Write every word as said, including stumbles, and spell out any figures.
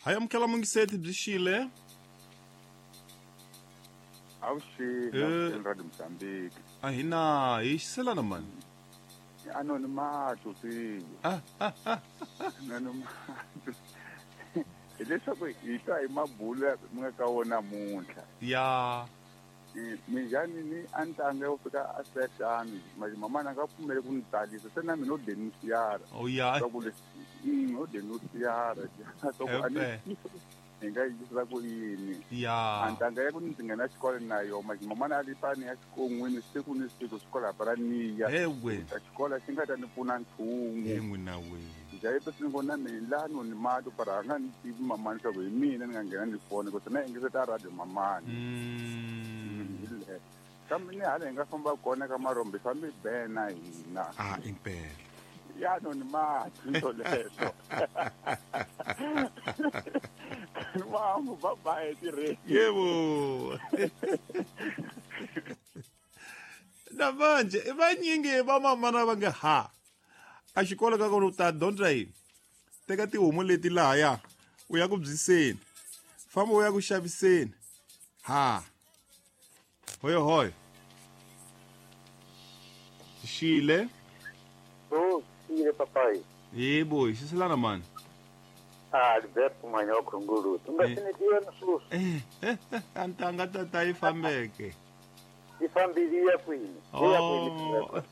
Hayi amukela mungiseti byi xile. Avuxeni Radio Mozambique. A hi na hi xiselana mani. Anonimato swi. Anonimato. Hileswaku hi twa hi mabulo mi nga ka wona namuntlha. Ya. Minjhani ni a ntanga yo fika a sexani mama na nga pfumeli ku ni tsalisa se na mina o denunciara. Oh ya. Swa ku leswi o denunciara. Swa ku a ni hi nga yisa ku yini. Ya. A ntanga ya ku ndzi nghena xikolo na yo mama na li pani ya xikon'wini siku ni siku xikolo a para niya. Ewe. Xikolo xi nga ta ni pfuna nchumu. Yin'we na we. Njhayi pesi ni vona mina lano ni mati para a nga ni tivi mamani swa ku hi mina ni nga nghena ni foni ku se na yingiseta radio mamani. Mm. Kambe ni hala hi nga famba kona ka marombe fambi bena hina. Ah impela. Ya no ni mati to leswo. Mamu bye bye tirhe. Yebo. Na manje vanyingi va mamana va nga ha. A xikolo ka kona u ta dyondza yini? Teka tihomu leti lahaya u ya ku byiseni. Famba u ya ku xaviseni. Ha. Hoyo hoy. Xile. Oh, xile papai. Yebo, xiselana mani. Ah, Alberto Manyoka Ngulutu. U nga sinetiwa na sweswi. Eh, antanga tata yi fambeke. Yi fambile ya kwini? Oh.